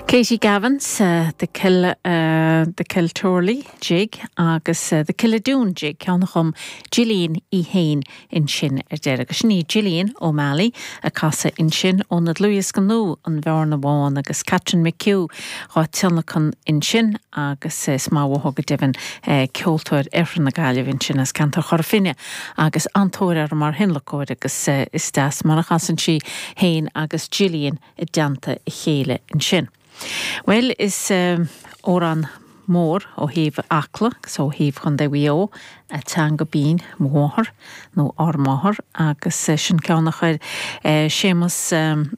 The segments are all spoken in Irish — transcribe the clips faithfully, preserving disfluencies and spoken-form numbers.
Katie Gavins uh, the Kill uh, the Kiltorley jig agus uh, the Killadoon jig ceann a chum Gillian í héin ansin ar deireadh. Agus sin í Gillian O'Malley a casadh ansin óna dlúthdhiosca nua an Bhearna Bhán agus Catherine McHugh á tionlacan ansin agus is maith go deimhin ceoltóir Oirthear na Gaillimhe ansin as ceantar Chora Finne agus an-tóir uirthi mar thionlacóir agus is deas mar a chasann sí héin agus Gillian i dteannta a chéile ansin. Well is um, amhrán mór ó thaobh Acla agus ó thaobh Chontae Mhaigh Eo a teanga binn mo mháthair nó ár máthair agus sin ceann a chuir Séamus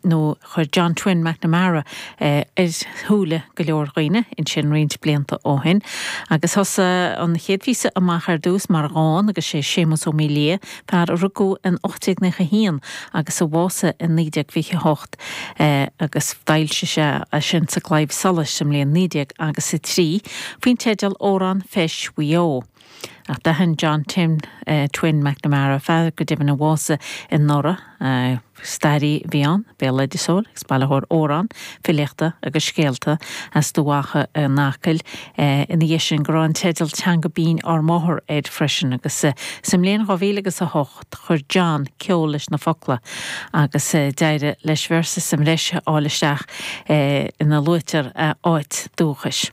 nó chuir John Twin McNamara ar shúile go leor daoine ansin roinnt blianta ó shin. Agus thosaigh an chéad phíosa amach ar dtús mar dhán agus sé Séamus Ó Mília fear a rugadh in ocht déag nócha haon agus a bhásaigh in naoi déag fiche hocht agus d'fhoilsigh sé sin sa Claidheamh Soluis sa mbliain naoi déag agus a trí faoin teideal Amhrán Feis Mhaigh Eo. Ach d'aithin John Tim uh, Twin McNamara fear go deimhin a bhásaigh anuraidh uh, staraí a bhí ann, béaloideasóir agus bailitheoir amhrán, filíochta agus scéalta as Dumha in Acaill uh, ina dhiaidh sin go raibh an teideal teanga binn ár máthair air freisin agus uh, sa mbliain dhá mhíle agus a hocht chuir John ceol leis na focla agus uh, d'éirigh leis véarsa sa mbreis a fháil isteach uh, ina luaitear uh, áit dúchais.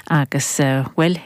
Agus uh, well